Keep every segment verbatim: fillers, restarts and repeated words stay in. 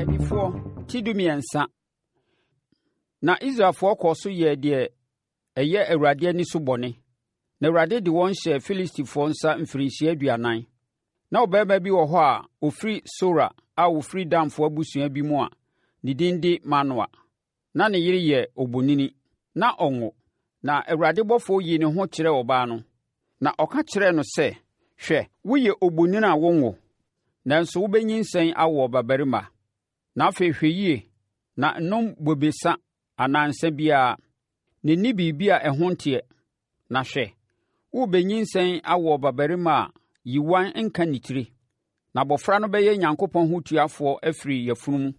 Akannifoɔ ti dumiɛnsa. Na Israelfoɔ kɔɔ so yɛɛ deɛ ɛyɛ Awurade ani so bɔne, na Awurade de wɔn hyɛɛ Filistifoɔ nsa mfirinhyia aduanan. Na ɔbarima bi wɔ hɔ a ɔfiri Sora a ɔfiri Danfoɔ abusua bi mu a ne din de Manoa. Na ne yere yɛ obonini, na ɔnwo. Na Awurade bɔfoɔ yii ne ho kyerɛɛ ɔbaa no, na ɔka kyerɛɛ no sɛ, Hwɛ, woyɛ obonini a wonwo, nanso wobɛnyinsɛn awo ɔbabarima. Na afei hwɛ yie na nnom bobesa anaa nsã biara, na nni biribi a ɛho nteɛ. Na hwɛ, worebɛnyinsɛn awo ɔbabarima a yiwan nka ne tire. Na abɔfra no bɛyɛ Onyankopɔn hotuafoɔ afiri yafunu mu,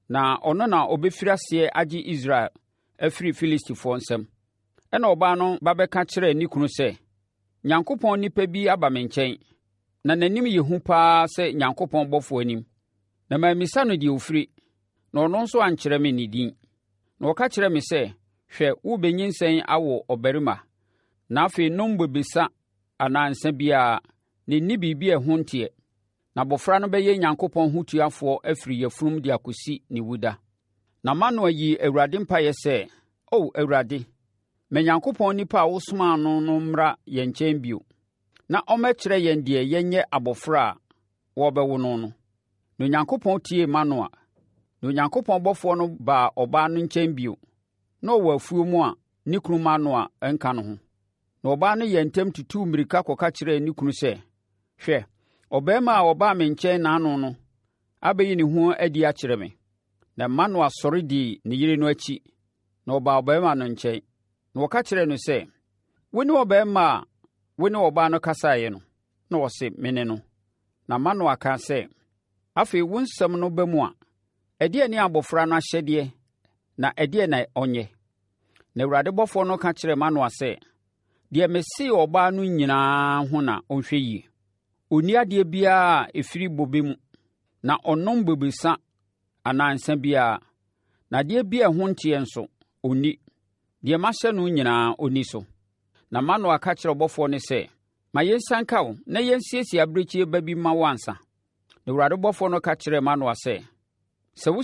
na ɔno na ɔbɛfiri aseɛ agye Israel afiri Filistifoɔ nsam. Ɛnna ɔbaa no ba bɛka kyerɛɛ ne kunu sɛ, Nyankopɔn nipa bi aba me nkyɛn, na n'anim yɛ hu pa ara sɛ Nyankopɔn bɔfoɔ anim. Na mammisa no deɛ ɔfiri, na ɔno nso ankyerɛ me ne din. Na ɔka kyerɛɛ me sɛ, 'Hwɛ, worebɛnyinsɛn awo ɔbarima, na afei nnom bobesa anaa nsã biara, na nni biribi a ɛho nteɛ. Na abɔfra no bɛyɛ Nyankopɔn hotuafoɔ afiri yafunum de akɔsi ne wuda.' Na Manoa yii Awurade mpaeɛ sɛ, “O Awurade, ma Nyankopɔn nipa a wosomaa no no mmra yɛn nkyɛn bio, na ɔmmɛkyerɛ yɛn deɛ yɛnyɛ abɔfra a wɔrebɛwo no no.” Na Onyankopɔn tiee Manoa. Na Onyankopɔn bɔfoɔ no baa ɔbaa no nkyɛn bio. Na ɔwɔ afuo mu a ne kunu Manoa nka ne ho. Na ɔbaa no yɛɛ ntɛm tutuu mmirika kɔka kyerɛɛ ne kunu sɛ, Hwɛ, ɔbarima a ɔbaa me nkyɛn nnaano no abɛyi ne ho adi akyerɛ me. Na Manoa sɔre dii ne yere no akyi, na ɔbaa ɔbarima no nkyɛn. Na ɔka kyerɛɛ no sɛ, Wone ɔbarima a wo ne ɔbaa no kasaeɛ no? Na ɔse, Mene no. Na Manoa kaa sɛ, Afei wo nsɛm no ba mu a, ɛdeɛn ne abɔfra no ahyɛdeɛ na ɛdeɛn na ɔnyɛ? Na Awurade bɔfoɔ no ka kyerɛɛ Manoa sɛ, Deɛ mesee ɔbaa no nyinaa ho na ɔnhwɛ yie. Ɔnni adeɛ biara a ɛfiri bobe mu, na ɔnnom bobesa anaa nsã biara, na adeɛ bi a ɛho nteɛ nso, ɔnni. Deɛ mahyɛ no nyinaa, ɔnni so. Na Manoa ka kyerɛɛ ɔbɔfoɔ no sɛ, Ma yɛnsianka wo na yɛnsiesie abirekyie ba bi mma wo ansa. Na Awurade bɔfoɔ no ka kyerɛɛ Manoa sɛ, Sɛ wo